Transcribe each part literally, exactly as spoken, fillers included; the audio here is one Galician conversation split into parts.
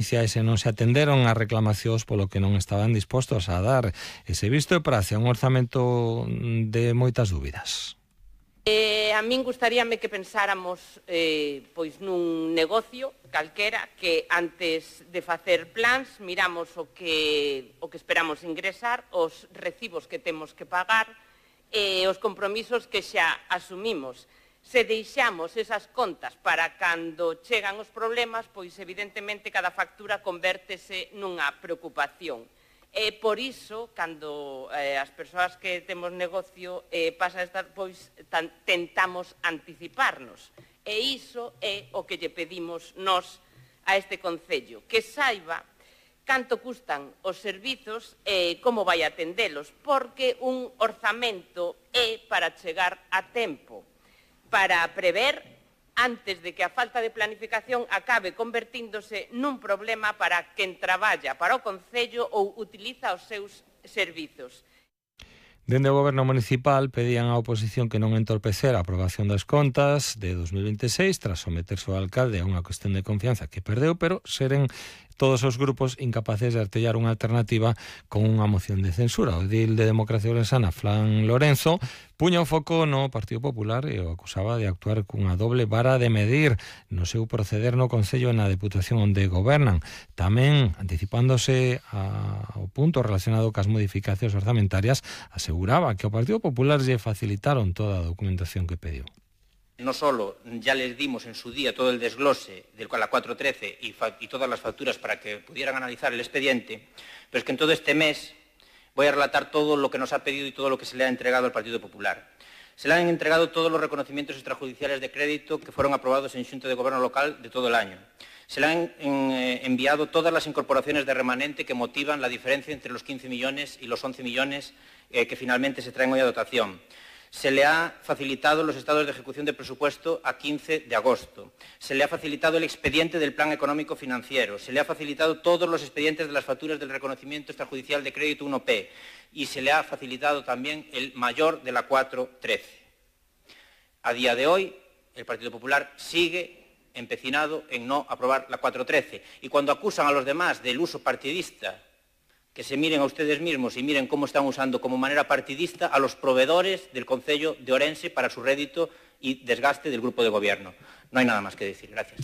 E se non se atenderon as reclamacións polo que non estaban dispostos a dar ese visto de praxe a un orzamento de moitas dúbidas. Eh, a min gustaríame que pensáramos eh, pois nun negocio calquera que antes de facer plans miramos o que, o que esperamos ingresar, os recibos que temos que pagar e eh, os compromisos que xa asumimos. Se deixamos esas contas para cando chegan os problemas, pois evidentemente cada factura convértese nunha preocupación. E por iso, cando eh, as persoas que temos negocio eh, pasa a estar, pois tan, tentamos anticiparnos. E iso é o que lle pedimos nós a este Concello, que saiba canto custan os servizos e como vai atendelos, porque un orzamento é para chegar a tempo, para prever antes de que a falta de planificación acabe convertíndose nun problema para quen traballa para o Concello ou utiliza os seus servizos. Dende o Goberno Municipal pedían á oposición que non entorpecer a aprobación das contas de dos mil vinte e seis tras someterse o alcalde a unha cuestión de confianza que perdeu, pero seren todos os grupos incapaces de artellar unha alternativa con unha moción de censura. O edil de Democracia Ourensana, Fran Lorenzo, puña o foco no Partido Popular e o acusaba de actuar cunha doble vara de medir no seu proceder no Concello e na Deputación onde gobernan. Tamén, anticipándose ao punto relacionado cas modificacións orzamentarias, aseguraba que ao Partido Popular lle facilitaron toda a documentación que pediu. No solo ya les dimos en su día todo el desglose del la cuatro trece y, y todas las facturas para que pudieran analizar el expediente, pero es que en todo este mes voy a relatar todo lo que nos ha pedido y todo lo que se le ha entregado al Partido Popular. Se le han entregado todos los reconocimientos extrajudiciales de crédito que fueron aprobados en Xunta de Gobierno local de todo el año. Se le han eh, enviado todas las incorporaciones de remanente que motivan la diferencia entre los quince millones y los once millones eh, que finalmente se traen hoy a dotación. Se le ha facilitado los estados de ejecución de presupuesto a quince de agosto. Se le ha facilitado el expediente del Plan Económico Financiero. Se le ha facilitado todos los expedientes de las facturas del reconocimiento extrajudicial de crédito uno P. Y se le ha facilitado también el mayor de la cuatro trece. A día de hoy, el Partido Popular sigue empecinado en no aprobar la cuatro trece. Y cuando acusan a los demás del uso partidista, que se miren a ustedes mismos y miren cómo están usando como manera partidista a los proveedores del Concello de Orense para su rédito y desgaste del grupo de gobierno. No hai nada máis que decir. Gracias.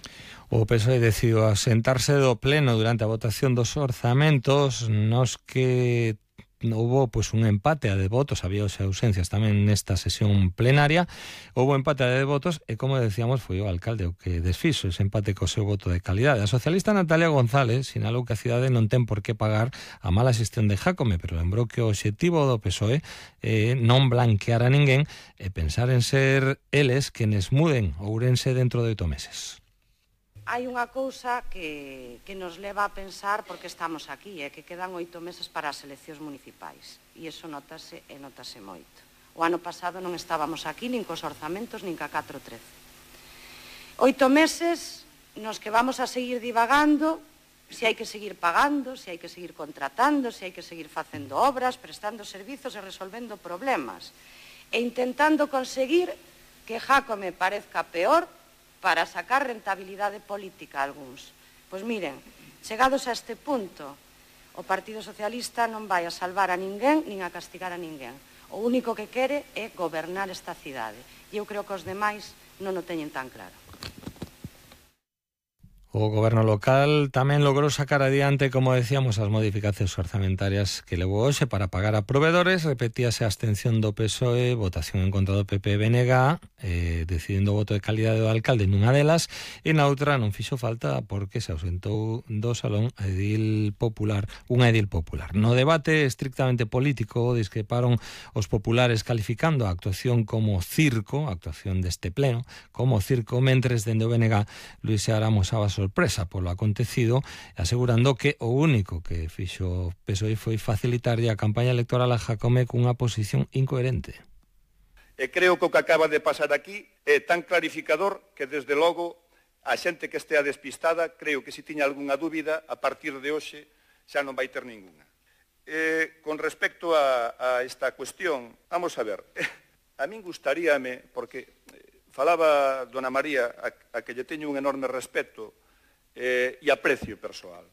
O P S O E decidiu asentarse do pleno durante a votación dos orzamentos nos que houve pues, un empate a de votos, había ausencias tamén nesta sesión plenaria, houve empate a de votos e, como decíamos, foi o alcalde o que desfixo ese empate co seu voto de calidade. A socialista Natalia González sinalou que a cidade non ten por que pagar a mala xestión de Jácome, pero lembrou que o obxectivo do P S O E é non blanquear a ninguén e pensar en ser eles quenes muden Ourense dentro de oito meses. Hai unha cousa que, que nos leva a pensar por que estamos aquí, é que quedan oito meses para as eleccións municipais. E iso notase e notase moito. O ano pasado non estábamos aquí nin cos orzamentos nin ca catro trece. Oito meses nos que vamos a seguir divagando se hai que seguir pagando, se hai que seguir contratando, se hai que seguir facendo obras, prestando servizos e resolvendo problemas. E intentando conseguir que Jácome parezca peor para sacar rentabilidade política a algúns. Pois miren, chegados a este punto, o Partido Socialista non vai a salvar a ninguén nin a castigar a ninguén. O único que quere é gobernar esta cidade. E eu creo que os demais non o teñen tan claro. O Goberno local tamén logrou sacar adiante, como decíamos, as modificacións orzamentarias que levou hoxe para pagar a proveedores. Repetíase a abstención do P S O E, votación en contra do P P e B N G, eh, decidindo o voto de calidade do alcalde nunha delas, e na outra non fixo falta porque se ausentou do salón a edil popular, unha edil popular. No debate estrictamente político discreparon os populares calificando a actuación como circo, a actuación deste pleno, como circo, mentres dende o B N G Luis Seara amosaba sorpresa polo acontecido, asegurando que o único que fixo o P S O E foi facilitarlle a campaña electoral a Jácome cunha posición incoherente. E creo que o que acaba de pasar aquí é tan clarificador que, desde logo, a xente que estea despistada, creo que se tiña algunha dúbida, a partir de hoxe xa non vai ter ninguna. Eh, con respecto a, a esta cuestión, vamos a ver, a min gustaríame, porque falaba dona María, a, a que lle teño un enorme respeto, Eh, e aprecio persoal.